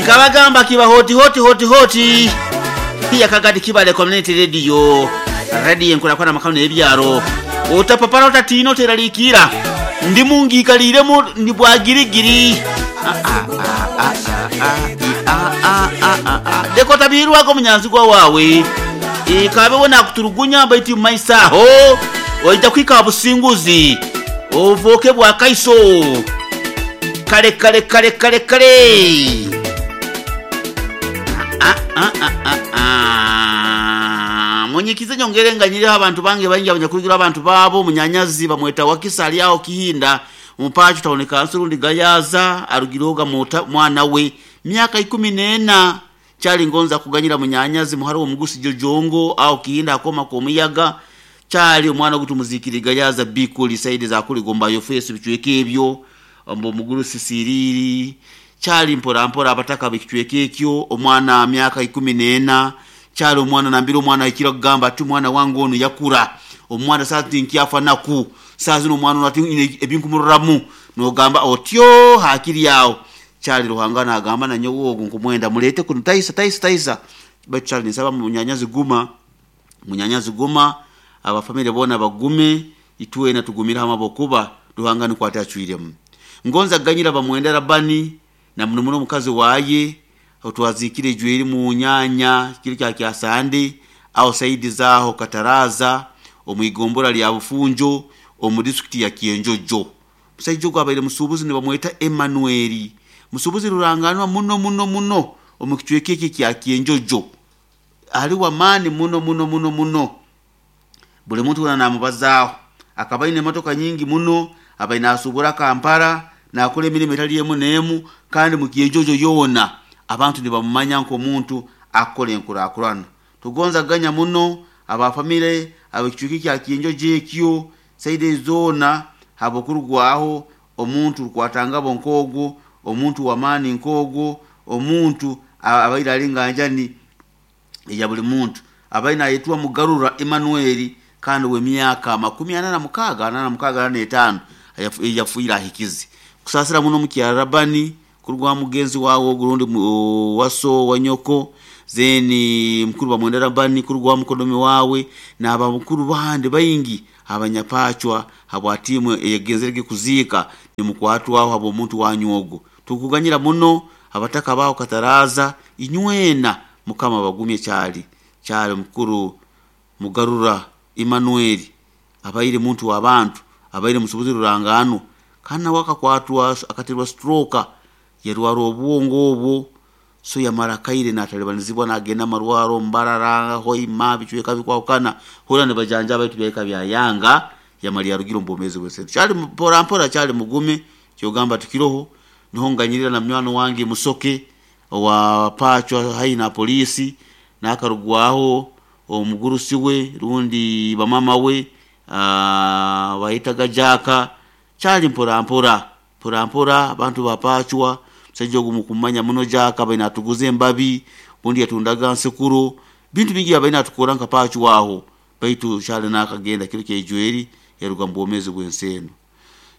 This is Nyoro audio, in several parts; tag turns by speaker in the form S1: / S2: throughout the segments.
S1: Nkabagamba kiba hoti hoti hoti hoti yakagadi kibale community radio radio enkulakwana makano n'ebyaro otapapara otatiina oteraliikira ndi mungiikaliremu ndi bwagirigiri dekotabirwako munyanzigwa wawe ikabewo nakuturugunya baitu mumaiso aho oija kwika businguzi ovoke bwa kaiso kale kale kale kale kale. Munyikize nyongere nganyiriho abantu bange baingi abanyakurugira abantu baabo munyanyazi bamweta wakisa ali aho kihinda mupacho taoneka nsurundi gayaza arugiroga mwana we myaka 14 kyali ngonza kuganyira munyanyazi muhara omugusi jojongo aho kihinda akoma komuyaga kyali omwana gutumuzikiri gayaza bikuli saidi za kuli gomba yo face bichweke ebyo ombo muguru sisiriri kyali mpora mpora abataka bichweke ekyo omwana myaka 14 kyali omwana nambira omwana ikira kugamba ati omwana wange ono yakura omwana sati nkyafa naku saa zino omwana ono ati ebinkumururamu nogamba otyo hakiri awo kyali Ruhanga nagamba nanyowe ogu nkumwenda mulete kuno taisa taisa taisa baitu kyali nsaba munyanyazi guma munyanyazi guma abafamire bona bagume itwena tugumire hamwe abokuba Ruhanga nikwo atacwiremu ngonza ganyira bamwenda Labani na muno muno omukazi waye otwazikire ejweri mu nyanya kiro kya kyasande aho saidi zaho Kataraza omwigombora lya Bufunjo omu disitulikiti ya Kyenjojo. Musaija ogu abaire musuubuzi nibamweta Emmanuel, musuubuzi ruranganwa muno muno muno omu kicweka eki kya Kyenjojo, ali wamaani muno muno muno muno, buli muntu weena namubazaaho. Akaba aine emotoka nyingi muno, abaire nasuubura Kampala nakora emirimo etali emu n'emu, kandi mu Kyenjojo yoona abantu nibamumanya nk'omuntu akukora enkurakurana. Tugonza kuganya muno abafamire ab'ekicweka kya Kyenjojo ekyo saidi zoona habokurugwaho omuntu rukwatangabo nk'ogwo, omuntu w'amaani nk'ogwo, omuntu abaire ali nganjani eya buli muntu abaire nayetwa Mugarura Emmanuel kandi w'emyaka 46 45 yafiire ahikize. Kusaasira muno mukyara Labani kurugwa mugenzi wawe ogu rundi waso wa nyoko zeni mukuru bamwenda Labani kurugwa mukodomi wawe n'abamukuru bandi baingi abanyapachwa habwa timu eyegenzerege kuziika nimukwatwaho habw'omuntu wanyu ogwo. Tukuganyira muno abataka baho Kataraza inywena Mukama bagumye kyali kyali mukuru Mugarura Emmanuel abaire muntu w'abantu abaire musuubuzi ruranganwa kandi nawe akakwatwa akaterwa stroke yarwara obwongo obwo so yamara akaire natalibanizibwa nagenda amarwaro Mbarara Hoima bicweka bikwahukana hura nibajanjaba baitu byahika byayanga yamara yarugire omu bwomeezi bw'ensi. Kyali mpora mpora kyali mugume kyogamba tukiroho niho nganyirira na munywani wange Musoke owa Pachwa haihi na polisi nakarugwaho omugurusi we rundi bamama we bayitaga Jaka kyali mpora mpora mpora mpora abantu ba Pachwa musaija ogu mukumanya muno Jaka abaire natuguza embabi obundi yatundaga nsekuro bintu bingi abaire natukora nka Pachwa aho baitu kyali nakagenda kiro kyaijweri yaruga mu bwomeezi bw'ensi enu.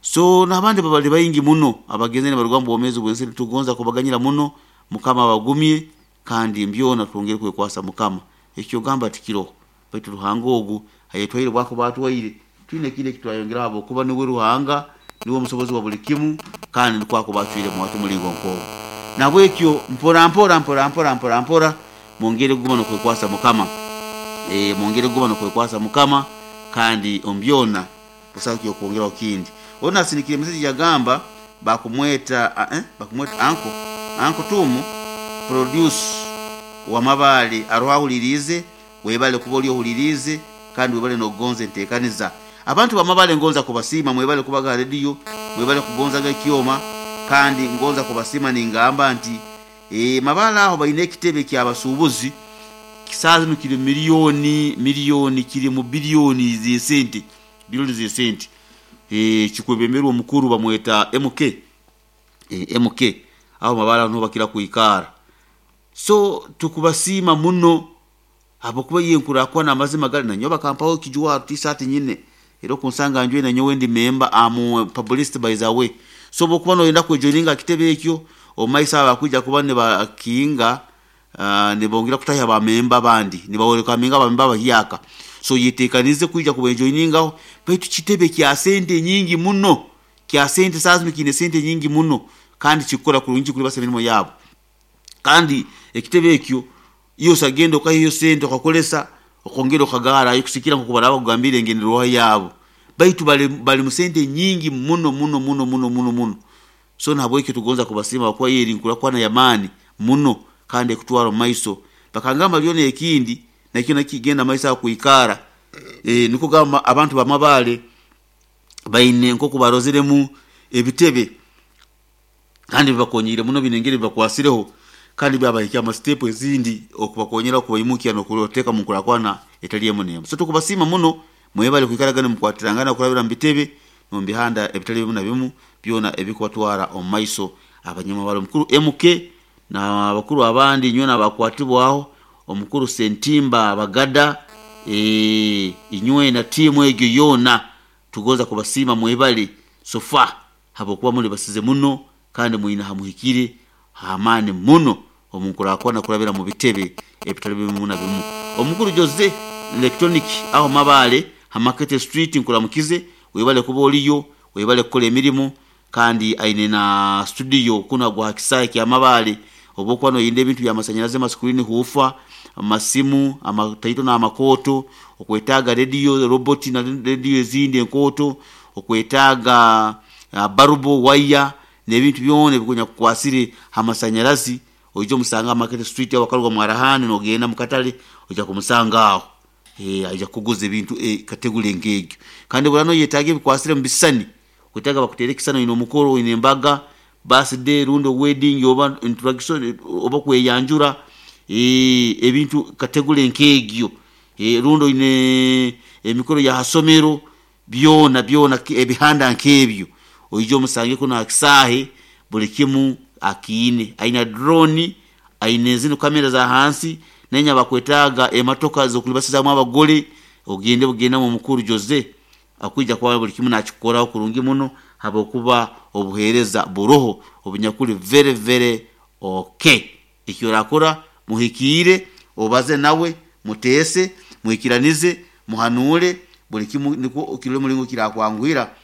S1: So n'abandi babali baingi muno abagenzere nibaruga mu bwomeezi bw'ensi enu tugonza kubaganyira muno Mukama abagumye kandi mbyona twongere kwekwasa Mukama. Ekyo ogamba tikiroho baitu Ruhanga ogu ayetwaire bwakuba atwaire twine ekindi ekitwayongeraho habwokuba niwe Ruhanga niwe omusobozi wa buli kimu kandi nikwo akuba acwiremu ati omulingo nk'ogwo. Nahabwekyo mpora mpora mpora mpora mpora mpora mwongere kuguma n'okwekwasa Mukama, mwongere kuguma n'okwekwasa Mukama kandi omu byona busaho kyokwongeraho kindi. Onu nasindikire emeseji yagamba bakumweta bakumweta anko anko Tumu produce wa Mabale aroho ahuliriize webale kuba oli ohuliriize kandi webale n'okugonza enteekaniza. Abantu ba Mabale ngonza kubasiima mwebale kubaga ha rediyo, mwebale kugonzaga ekyoma kandi ngonza kubasiima ningamba nti Mabale aho baine ekitebe ky'abasuubuzi saaha zinu kiri miliyoni miliyoni kiri mu biliyoni z'esente biliyoni z'esente kikwebemberwa omukuru bamweta MK MK aho Mabale aho niho bakira kwikara. So tukubasiima muno habwokuba iyo enkurakwana amazima gali nanyowe bakampaho ekijwaro tisaati nyine era okunsanga njwaire nanyowe ndi member am publicity by the way. So obu okuba noyenda kwejoininga ha kitebe ekyo Omumaiso abo bakwija kuba nibakinga, nibongera kutaha abamemba abandi, nibawerekaminga abamemba abahyaka. So yetekanize kwija kubejoiningaho, baitu kitebe kya sente nyingi muno, kya sente saaha zinu kiine sente nyingi muno, kandi kikukora kurungi kulibasa emirimo yabo. Kandi ekitebe ekyo iwe osagenda okahayo sente okakolesa okongera okagarayo kusikira nkoku baraba bakugambire engenderwaho yabo. Baitu bali mu sente nyingi muno muno muno muno muno muno. So nahabwekyo tugonza kubasiima habwokuba iyo eri nkurakurana y'amaani muno kandi ekutwara omu maiso. Bakangamba lyona ekindi nakyo nakigenda maiso aho kwikara, nikwo kugamba abantu ba Mabaale baine nkoku barozeremu ebitebe kandi bibakonyiire muno biine engeri bibakwasireho kandi byabahikya mu siteepu ezindi okubakonyera okubaimukya n'okubateeka omu nkurakurana etali emu n'emu. So tukubasiima muno, mwebale kwikaraga nimukwatirangana kurabira mu bitebe n'omu bihanda ebitali bimu na bimu byona ebikubatwara omu maiso. Abanyamabara omukuru MK n'abakuru abandi inywena abakwatibwaho, omukuru Sentimba Bagada, inywena tiimu egyo yoona tugonza kubasiima mwebale so far habwokuba muli basize muno kandi mwine hamuhikire h'amaani muno omu nkurakurana kurabira mu bitebe ebitali bimu na bimu. Omukuru Jose Electronic aho Mabaale ha Market Street nkuramukize, webale kuba oliyo, webale kukora emirimo kandi aine na studio kunu agwa ha kisaayi kya Mabaale. Obu okuba noyenda ebintu by'amasanyarazi, amascreen huufa, amasimu, amataito n'amakooto, okwetaaga rediyo, roboti na rediyo ezindi enkooto, okwetaaga barubu, waya n'ebintu byona ebikukwasire ha masanyarazi, oije omusange aha Market Street aho wakaruga Mwarahani nogenda mukatale oija kumusanga aho. Aija kukuguza ebintu kategore nk'egyo. Kandi obu oraaba noyetaaga ebikwasire omu bisisani, okwetaaga bakuteere ekisisani oine omukoro, oine embaga, birthday rundi wedding oba introduction oba kweyanjura, ebintu kategore nk'egyo, rundi oine emikoro ya ha somero, byona byona ebihanda nk'ebyo, oije omusange kunu ha kisaahe buli kimu akiine. Aina drone, aine zinu kamera za hansi, nainywe abakwetaaga emotoka z'okulibasizaamu abagole, ogende bugendamu omukuru Jose akwija kuba buli kimu nakikukoraho kurungi muno habwokuba obuheereza buroho obunyakuli very very okay. Eki orakora muhikiire, obaze nawe, muteese, mwikiranize, muhanuule buli kimu nikwo kirole omulingo kirakwanguhira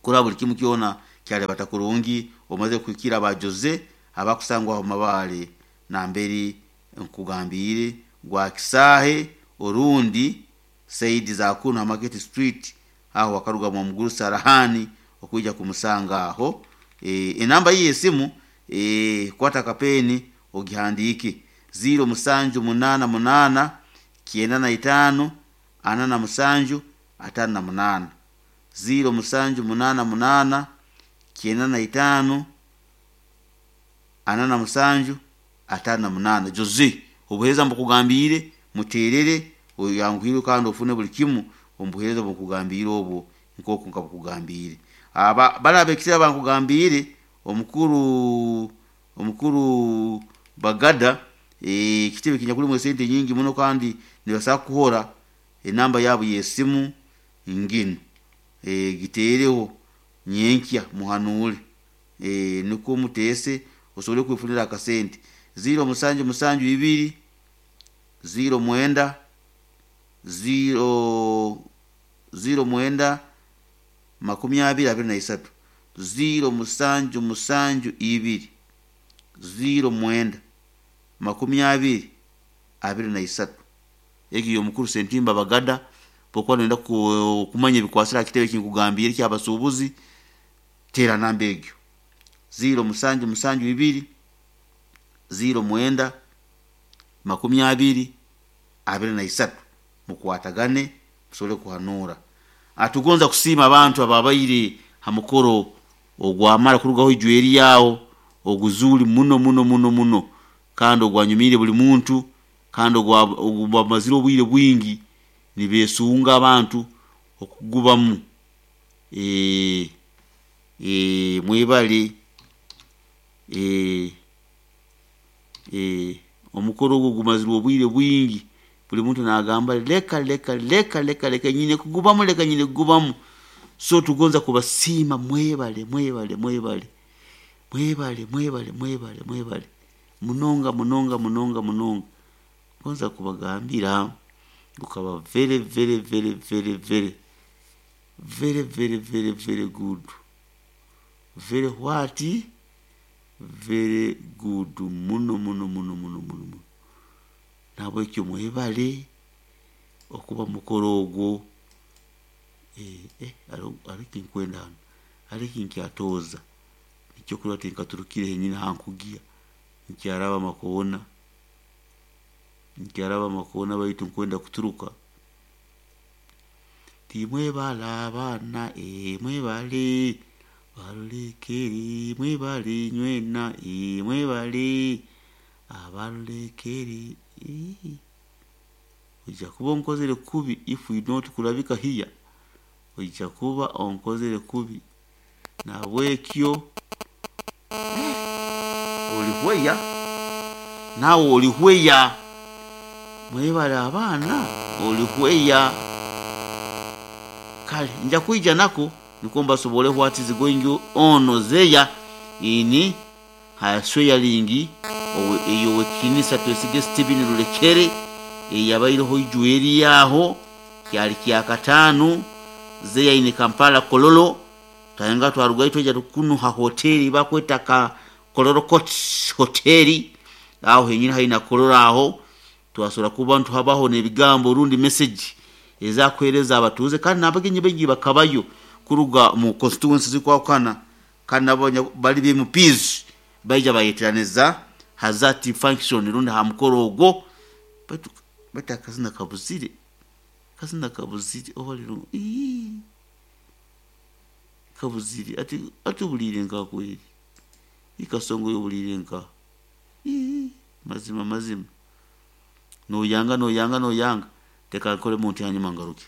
S1: kurora buli kimu kyona kyalibata kurungi omaze kuhikira aba Jose abakusangwa aho Mabaale namberi nkugambiire gwa kisaahe orundi saidi za kunu ha Market Street aho wakaruga mwa Sarahani okwija kumusanga aho. Enamba ye y'esimu, kwata akapeeni ogihandiike, 0788 95 47 58, 0788 95 47 58. Jose obuheereza mbukugambiire, muteerere oyanguhirwe kandi ofune buli kimu omu buheereza obu nkugambiire obwo nk'oku nkabukugambiire. Aba bali ab'ekitebe abankugambiire, omukuru omukuru Bagada, ekitebe kinyakulimu esente nyingi muno kandi nibasobora kukuhora enamba yabo y'esimu nginu, giteereho nyenkya muhanuule, nukwo muteese osobole kwefunira akasente, 0772 09 0 09 20 23, 0772 09 20 23. Egi y'omukuru Sentimba Bagada. Obu okuba noyenda kumanya ebikwasire ha kitebe eki nkugambiire eky'abasuubuzi, teera namba egyo, 0772 09 20 23, mukwatagane musobole kuhanuura. Tugonza kusiima abantu ababaire ha mukoro ogwamara kurugaho ijweri aho, oguzuuli muno muno muno muno kandi ogwanyumiire buli muntu kandi ogubamazire obwire bwingi nibeesunga abantu okugubamu. Mwebale omukoro ogu gumazirwe obwire bwingi, buli muntu naagamba leka leka leka leka leka nyine kugubamu, leka nyine kugubamu. So tugonza kubasiima mwebale mwebale mwebale. Mwebale, mwebale, mwebale, mwebale munonga, munonga, munonga, munonga. Ngonza kubagambira gukaba very, very, very, very, very, very, very, very, very good, very what, very good muno muno muno muno muno muno. Nabwekyo mwebale okuba mukoro ogwo. Hariho nkwenda hanu, hariho nkyatooza nikyo kurora tinkaturukire henyini hankugiya, nkyaraba amakoona, nkyaraba amakoona, baitu nkwenda kuturuka. Timwebale abaana, mwebale barulekeri, mwebale nywena, mwebale abarulekeri. Oija kuba onkozere kubi if we not kurabika here, oija kuba onkozere kubi. Nabwekyo olihweya, nawe olihweya. Mwebale abaana, olihweya. Kale nja kwija nako nikwo mbasobole what is going on zeya ini hasweyaringi eyo wekinisa Twesige Stephen Rulekere eyabaireho ijweri aho kyali kyakataano zeya ini Kampala Kololo. Twayenga twarugayo twaija kunuha hoteri bakweta ka Kololo Court Hoteli, aho henyini haina Kololo aho twasobora kuba ntuhabaho n'ebigambo rundi message ezakuhereza abatuuze, kandi n'abagenyi baingi bakabayo kuruga mu constituency zikwahukana, kandi nabo bali be MPs baija bayeteraniza hazati function rundi ha mukoro ogwo. Baitu baitu akazina kabuzire, akazina kabuzire oba kabuzire ati ati obuliire nka kweri ikasongo obuliire nka mazima mazima noyanga noyanga noyanga. Teka nkore muntu hanyuma ngaruke.